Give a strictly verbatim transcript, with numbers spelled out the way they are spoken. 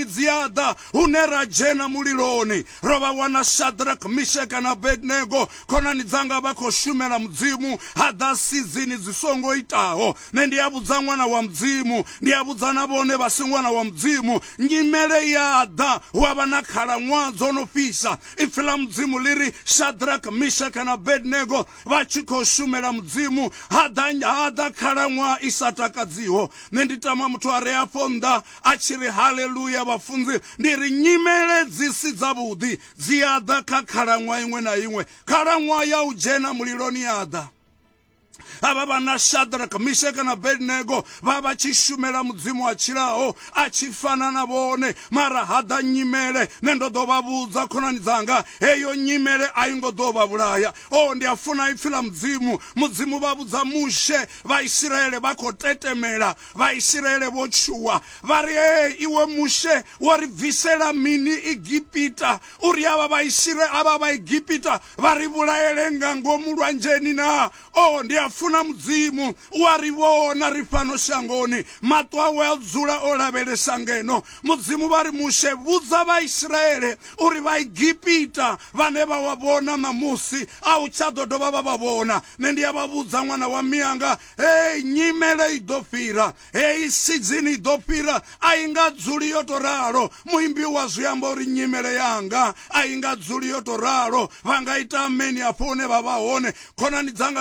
Dzi a ḓa hune ra dzhena muliloni. Ro vha wana Shadrach, Misheka na Abednego, khonani dzanga, vha khou shumela Mudzimu, ha ḓa sizini dzi songo itaho. Nṋe ndi a vhudza ṅwana wa Mudzimu, ndi a vhudza na vhone vha si ṅwana wa Mudzimu, nyimele ya ḓa hu a vha na khalaṅwaha dzo no fhisa. Ipfi ḽa Mudzimu ḽi ri Shadrach, Misheka na Abednego vha tshi khou shumela Mudzimu, ha ḓa ha ḓa khalaṅwaha i sa takadziho. Nṋe ndi tama muthu a re afho nnḓa a tshi ri haleluya. Vhafunzi, ndi ri nyimele dzi si dzavhuḓi dzi a ḓa kha khalaṅwaha iṅwe na iṅwe. Khalaṅwaha ya u dzhena muliloni ya ḓa. Havha vhana Shadrach, Misheka na Abednego vha vha tshi shumela Mudzimu a tshilaho, a tshi fana na vhone, mara ha ḓa nyimele. Nṋe ndo ḓo vha vhudza, khonani dzanga, heyo nyimele a i ngo ḓo vha vhulaya. O ndi a funa ipfi ḽa Mudzimu. Mudzimu vha vhudza Mushe, Vhaisiraele vha khou tetemela, Vhaisiraele vho tshuwa, vha ri, "Ee, iwe Mushe, wo ri bvisela mini Egipita uri avha Vhaisiraele, avha Vhaegipita vha ri vhulaele nga ngomu lwanzheni na?" O ndi a funa Mudzimu, u a ri vhona ri fhano shangoni, maṱo awe a dzula o lavhelesa ngeno. Mudzimu vha ri, "Mushe, vhudza Vhaisiraele uri Vhaegipita vhane vha wa vhona ṋamusi a u tsha ḓo dovha vha vha vhona." Nṋe ndi a vha vhudza, ṅwana wa mianga, hei nyimele i ḓo fhira, hei sidzini i ḓo fhira, a i nga dzuli yo to ralo. Muimbi wa zwi amba uri nyimele yanga a i nga dzuli yo to ralo. Vha nga ita ameni afho hune vha vha hone, khonani dzanga.